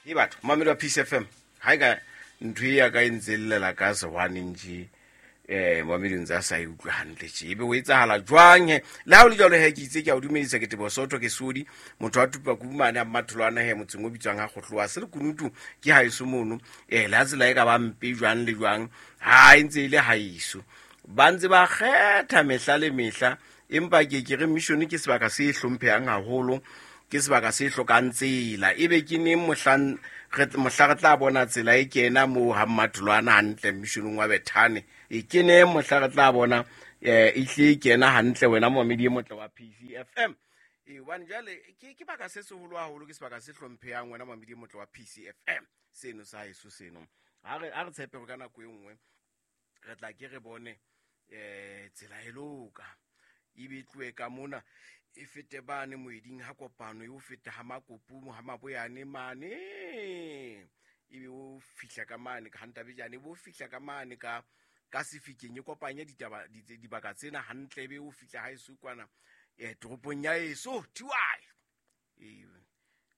E batho mamedi wa Peace FM, ha e ka ntho e ya ka e ntse e llela ka sewaneng tje, mamedi o ntse a sa e utlwe hantle tje, ebe o etsahala jwang he? Le ha o le jwalo he, ke itse ke a o dumedisa, ke Teboho Soto, ke Sodi, motho wa Tupa Kumane a Mmatholwana he, motseng o bitswang ha Kgohlowa se le kunutu ke haeso mono. Le ha tsela e ka ba mpe jwang le jwang, ha e ntse e le haeso. Ba ntse ba kgetha mehla le mehla, empa ke ke re mission ke sebaka se hlomphehang haholo, ke sebaka se hlokang tsela. Ebe ke neng mohla re tla bona tsela e kena moo ha Mmatholwana hantle missionong wa Bethane? E ke neng mohla re tla bona e hle e kena hantle, wena momamedi e motle wa PCFM? Hobane jwale ke baka se seholo haholo, ke sebaka se hlomphehang, wena momamedi e motle wa PCFM, seno sa heso seno. Ha re tshepe hore ka nako e nngwe re tla ke re bone tsela e loka, ebe e tlohe ka mona e fete bane moeding ha kopano, e o fete ha Makopu ha Maboyane mane, ebe o fihla ka mane ka Hantabejane, ebe o fihla ka mane ka Sefikeng, e kopanye ditaba, dibaka tsena hantle, ebe o fihla ha eso kwana, toropong ya eso Tiwai.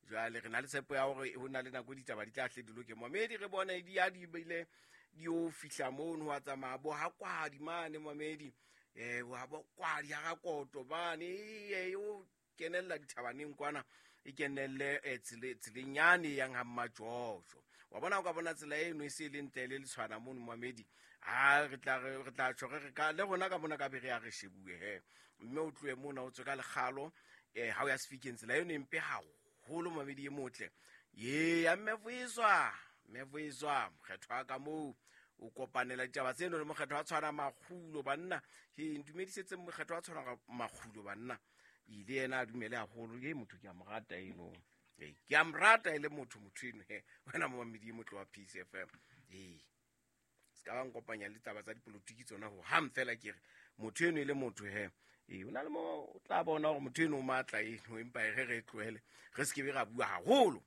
Jwale re na le tshepo ya hore ho na le nako ditaba di tla hle di loke. Mamedi re bone di ya di bile di o fihla mono, wa tsamaya bo ha kwadi mane mamedi, wa bo kwadi ha rakoto mane, o kenella dithabaneng kwana, e kenelle tseleng yane e yang ha Mmajojo. Wa bona, o ka bona tsela eno e se e le ntle le letshwana mono mamedi. Ha re tla re, re tla tjho re re ka le rona ka mona ka be re ya re shebuwe he. Mme o tlohe mona o tswe ka lekgalo, ha o ya Sefikeng, tsela eno e mpe haholo mamedi e motle. Ye ya mme Vuyiswa, mme Vuyiswa, mokgetho wa ka moo o kopanela ditaba tseno le mokgetho wa tshwana Makgulo banna. He, ntumedisetse mokgetho wa tshwana Makgulo banna. Ile yena a dumele haholo, ye motho ke a mo rata eno. Ee, ke a mo rata e le motho, motho eno he, wena momamedi e motle wa Peace FM. Ee, se ka ba nkopanya le taba tsa dipolotiki tsona ho hang fela, ke re motho eno e le motho he. Ee, o na le mo o tla bona hore motho eno o matla eno, empa e re re tlohele, re se ke be ra bua haholo.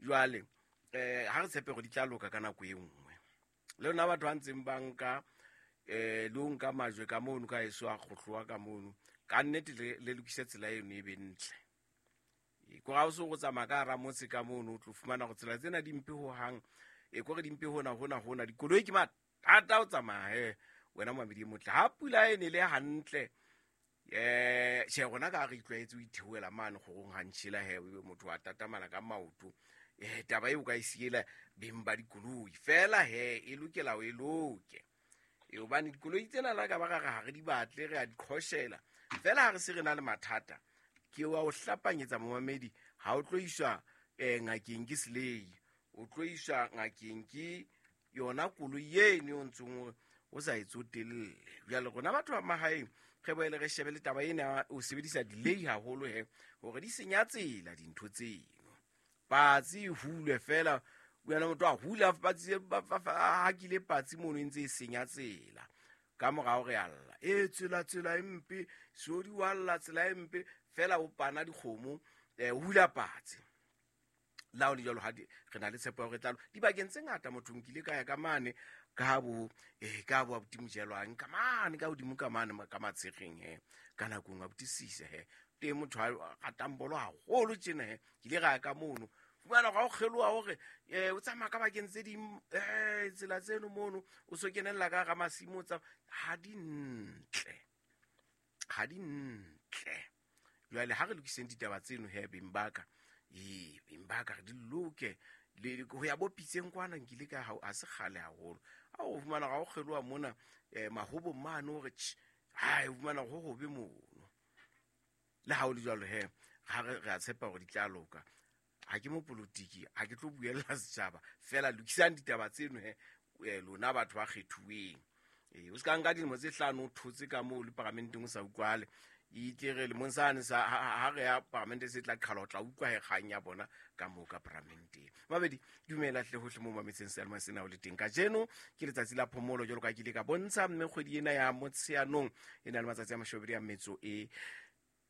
Jwale, ha re tshepe hore di tla loka ka nako e nngwe. Le lona batho ba ntseng ba nka, le o nka majwe ka mono, ka eso a kgohlowa ka mono, ka nnete le lokise tsela eno e be ntle. E, ko ha o se go tsamaya ka hara motse ka mono, o tlo fumana gore tsela tsena di mpe ho hang. E, kore di mpe hona, hona, hona. Dikoloi ke mathata ho tsamaya he, wena momamedi e motle. Ha pula e nele hantle, tjhe, rona ka ha re itlwaetse ho itheohela mane kgorong ha ntjhela he, ebe motho wa tatamana ka maoto. Taba eo o ka e siela beng ba dikoloi fela he, e lokela ho e loke. Hobane dikoloi tsena la ka ba ra re ha re di batle, re a di qhoshela. Fela ha re se re na le mathata, ke wa o hlapanyetsa momamedi, ha o tlo iswa, ngakeng ke selei, o tlo iswa ngakeng ke yona koloi eno o ntseng o sa e tsotelle. Jwale rona batho ba mahaeng re boele re shebe le taba ena, o sebedisa delay haholo he, hore di senya tsela dintho tseno. Patsi e hulwe fela, wena motho a hula patsi, a hakile patsi mono e ntse e senya tsela. Ka morao re a lla, e tsela, tsela e mpe, Seodi wa lla tsela e mpe, fela o pana dikgomo, o hula patsi. La ho le jwalo, ha di, re na le tshepo ya hore tla lo-, dibakeng tse ngata motho nkile ka ya ka mane, ka bo, ka bo abuti Mojelwang, ka mane, ka hodimo ka mane, ka Matshekgeng he, ka nako nngwe abuti Sise he, teng motho a ratang bolo haholo tjena he, ke ile ra ya ka mono. Fumana hore ha o kgeloha hore, o tsamaya ka bakeng tse ding, tsela tseno mono, o so kenella ka hara masimo, o tsamaya, ha di ntle. Ha di ntle. Jwale ha re lokiseng ditaba tseno he, beng ba ka. Ee, beng ba ka, re di loke. Le, ho ya bo pitseng kwana, nkile ka ha, ha se kgale haholo. Ha o fumana hore ha o kgeloha mona, mahobong mane hore tjhe, ha, o fumana hore ho hobe mono. Le ha o le jwalo he, ha re a tshepa hore di tla loka. Ha ke mopolotiki, ha ke tlo buella setjhaba, fela lokisang ditaba tseno he, lona batho ba kgethuweng. O se ka nka dilemo tse hlano o thotse ka moo le paramenteng o sa utlwale. E tle re lemong sane sa, ha, ha, ha re ya paramente se tla qhala, o tla utlwa he kgang ya bona ka moo ka paramenteng. Mabedi, dumela hle hohle moo mametseng seyalemoya sena o le teng. Kajeno ke letsatsi la phomolo jwalo ka ke ile ka bontsha, mme kgwedi ena ya Motsheanong e na le matsatsi a mashobedi a metso e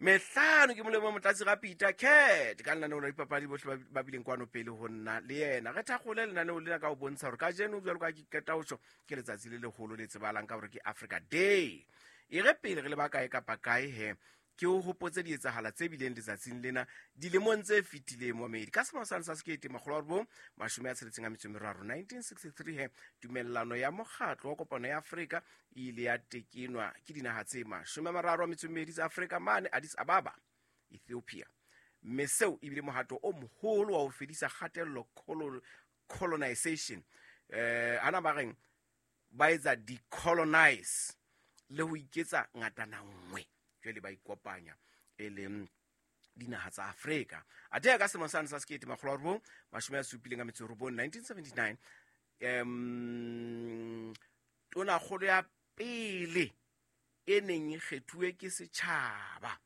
mehlano. Ke molemo Motlatsi ga Peter Cat ka lenaneo la dipapadi bohle ba bileng kwano pele ho nna le yena. Re thakgole lenaneo lena ka ho bontsha hore kajeno jwalo ka ke qeta ho tjho, ke letsatsi le leholo le tsebahalang ka hore ke Africa Day. E re pele re le ba kae kapa kae he, Ke o hopotse dietsahala tse bileng letsatsing lena dilemong tse fetileng, momedi. Ka selemo sane sa 1963, 1963, he tumellano ya mokgatlo wa kopano ya Afrika e ile ya tekenwa ke dinaha tse 32 tsa Afrika mane Addis Ababa, Ethiopia, mme seo ebile mohato o moholo wa ho fedisa kgatello, colonization, ana ba reng ba etsa decolonize le ho iketsa ngatana nngwe. Jwale ba ikopanya e leng dinaha tsa Afrika. Athe ka selemo sane sa 1979, 1979, tonakgolo ya pele e neng e kgethuwe ke setjhaba,